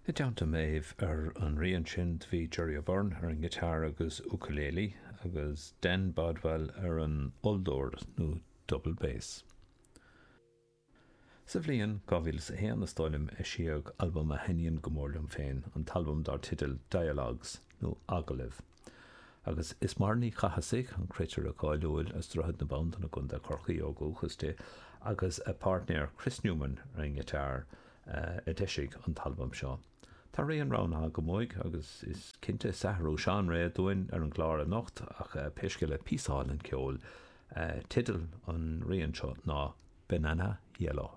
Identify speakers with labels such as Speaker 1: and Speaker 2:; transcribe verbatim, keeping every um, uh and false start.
Speaker 1: I dteannta Maeve ar an rian sin bhí Gerry O'Beirne ar an ngiotár agus ukulele agus Dan Bodwell ar an olldord nó double bass. Sa bhliain dhá mhíle a haon is dóigh liom eisíodh albam a thaitníonn go mór liom féin, an t-albam dar teideal Dialogues nó Agallaimh. Agus is Máire Ní Chathasaigh an cruitire cáiliúil as Droichead na Bandan i gContae Chorcaí ó dhúchas di agus a páirtnéir Chris Newman ar an ngiotár a d'eisigh an t-albam seo. Tá rian roghnaithe agam uaidh agus is cinnte is athrú seánra dúinn ar an gclár anocht ach pé scéal é píosa álainn ceoil. Teideal an rian seo ná Banana Yellow.